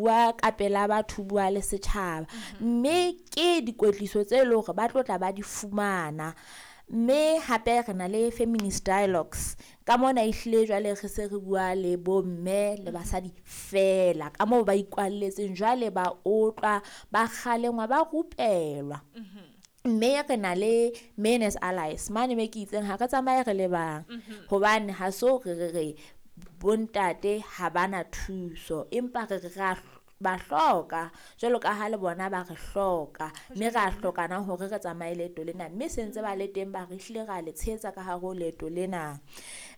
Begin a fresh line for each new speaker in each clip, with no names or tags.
bua ka pela batho, bua le setjhaba. Mme ke dikwetliso tse leng hore ba tlo tla ba di fumana. Mme hape re na le feminist dialogues ka mona, ehlile jwale re se re bua le bomme le basadi fela ka moo ba ikwalletseng, jwale ba otlwa, ba kgalengwa, ba rupelwa. Mme re na le men as allies mane me ke itseng ha re tsamaye re le bang, hobane ha so re re re bontate ha bana thuso, empa re re ra ba hloka jwalo ka ha le bona ba re hloka, mme ra hlokana hore re tsamaye leeto lena. Mme se ntse ba le teng, ba re hlile ra le tshehetsa ka hare ho leeto lena.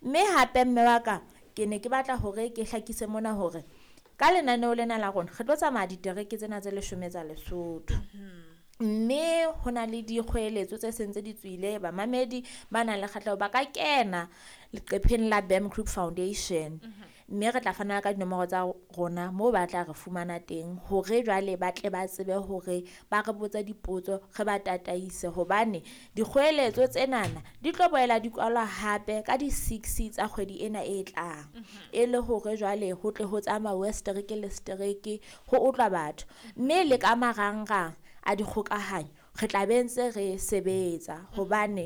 Mme hape mme wa ka, ke ne ke batla hore ke hlakise mona hore ka lenaneo lena la rona re tlo tsamaya ditereke tsena tse 10 tsa Lesotho. Mme ho na le dikgoeletso tse seng tse di tswile. Bamamedi ba nang le kgahleho ba ka kena leqepheng la BAM Group Foundation, mme re tla fana ka dinomoro tsa rona moo ba tla re fumana teng, hore jwale ba tle ba tsebe hore ba re botse dipotso, re ba tataise, hobane dikgoeletso tsenana di tlo boela di kwalwa hape ka di-6 tsa kgwedi ena e tlang, e le hore jwale ho tle ho tsamauwe setereke le setereke ho otlwa batho. Mme le ka marangrang a dikgokahanyo re tla be ntse re sebetsa, hobane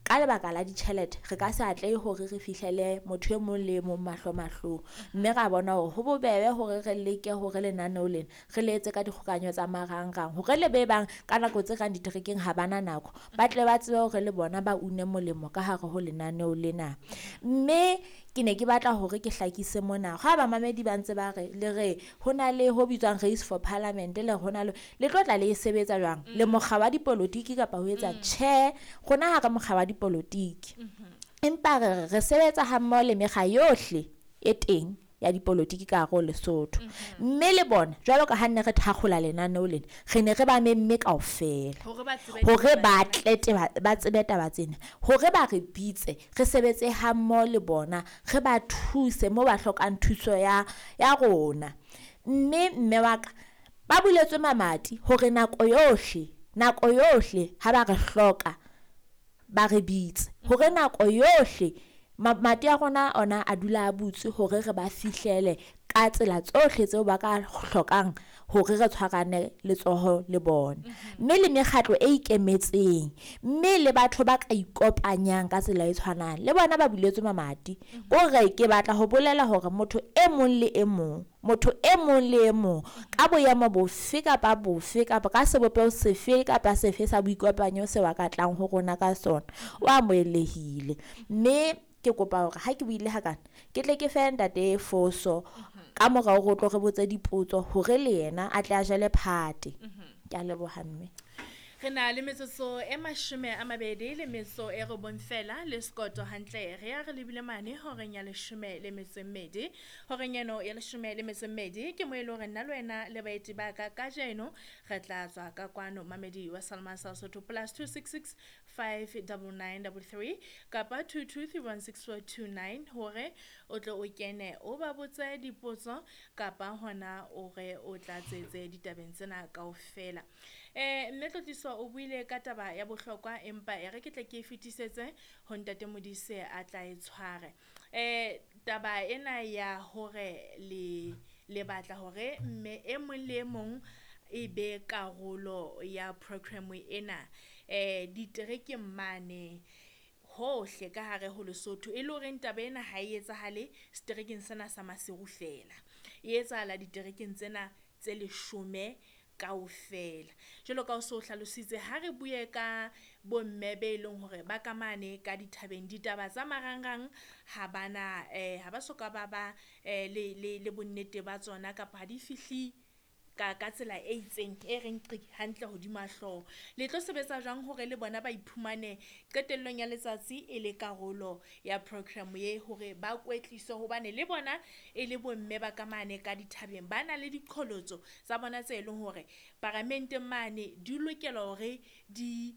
ka lebaka la ditjhelete re ka se atlehe hore re fihlele motho e mong le e mong mahlo mahlong. Mme ra bona hore ho bobebe hore re leke hore lenaneo lena re le etse ka dikgokahanyo tsa marangrang, hore le be bang ka nako tse kang diterekeng ha bana nako, ba tle ba tsebe hore le bona ba une molemo ka hare ho lenaneo lena. Mme ke ne ke batla hore ke hlakise mona ha bamamedi ba ntse ba re le re ho na le ho bitswang race for parliament, le ho na le le tlo tla le e sebetsa jwang le mokga wa dipolotiki kapa ho etsa? Tjhe, rona ha re mokga wa dipolotiki, empa re sebetsa ha mmoho le mekga yohle e teng ya dipolotiki ka hare ho Lesotho. Mme le bona, jwalo ka ha nne re thakgola lenaneo lena, re ne re ba memme kaofela
hore
hore ba tle ba tsebe taba tsena, hore ba re bitse re sebetse ha mmoho le bona, re ba thuse moo ba hlokang thuso ya rona. Mme mme wa ka, ba buletswe mamati hore nako yohle, nako yohle ha ba re hloka ba re bitse, hore nako yohle mamati a rona ona a dula a butswe hore re ba fihlele ka tsela tsohle tseo ba ka hlokang hore re tshwarane letsoho le bona. Mme le mekgatlo e ikemetseng, mme le batho ba ka ikopanyang ka tsela e tshwanang le bona, ba buletswe mamati. Kore ke batla ho bolela hore motho e mong le e mong, motho e mong le e mong ka boemo bofe kapa bofe kapa ka sebopeho sefe kapa sefe sa boikopanyo seo a ka tlang ho rona ka sona, o amohelehile. Mme ke kopa hore ha ke buile hakana, ke tle ke fe ntate Foso ka morao hore o tlo re botse dipotso, hore le yena a tle a jele phate. Ke a leboha mme.
Re na le metsotso e 29 fela le sekoto hantle, re ya re lebile mane horeng ya 12. Horeng eno ya 12 ke mo e le hore nna le wena le baeti ba ka kajeno re tla tswa ka kwano. Mamedi wa Salma sa Sotho, +266 599 33 kapa 22316429, hore o tle o kene o ba botse dipotso kapa hona o re o tlatsetse ditabeng tsena kaofela. Mme Tlotliso o buile ka taba ya bohlokwa, empa e re ke tle ke e fetisetse ho ntate Modise a tla e tshware. Taba ena ya hore le batla hore mme e mong le e mong e be karolo ya program ena diterekeng mane hohle ka hare ho Lesotho, e le horeng taba ena ha e etsahale seterekeng sena sa Maseru fela, e etsahala diterekeng tsena tse 10 kaofela, jwalo ka o so hlalositse. Ha re bue ka bomme be leng hore ba ka mane ka dithabeng, ditaba tsa marangrang ha bana, ha ba soka ba ba le bonnete ba tsona, kapa ha di fihle ka tsela e itseng e reng qi hantle hodima hlooho. Le tlo sebetsa jwang hore le bona ba iphumane qetellong ya letsatsi e le karolo ya program ye, hore ba kwetliswe, hobane le bona e le bomme ba ka mane ka dithabeng, ba na le diqholotso tsa bona tse leng hore paramenteng mane di lokela hore di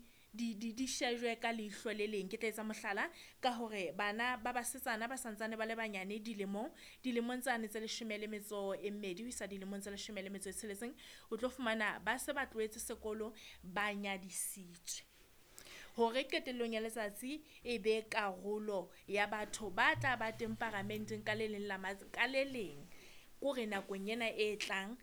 shejwe ka leihlo le leng? Ke tla etsa mohlala ka hore bana ba basetsana ba santsane ba le banyane dilemong tsane tse 12 ho isa dilemong tse 16, o tlo fumana ba se ba tlohetse sekolo, ba nyadisitswe. Hore qetellong ya letsatsi e be karolo ya batho ba tla ba teng paramenteng ka le leng, ka le leng kore nakong ena e tlang.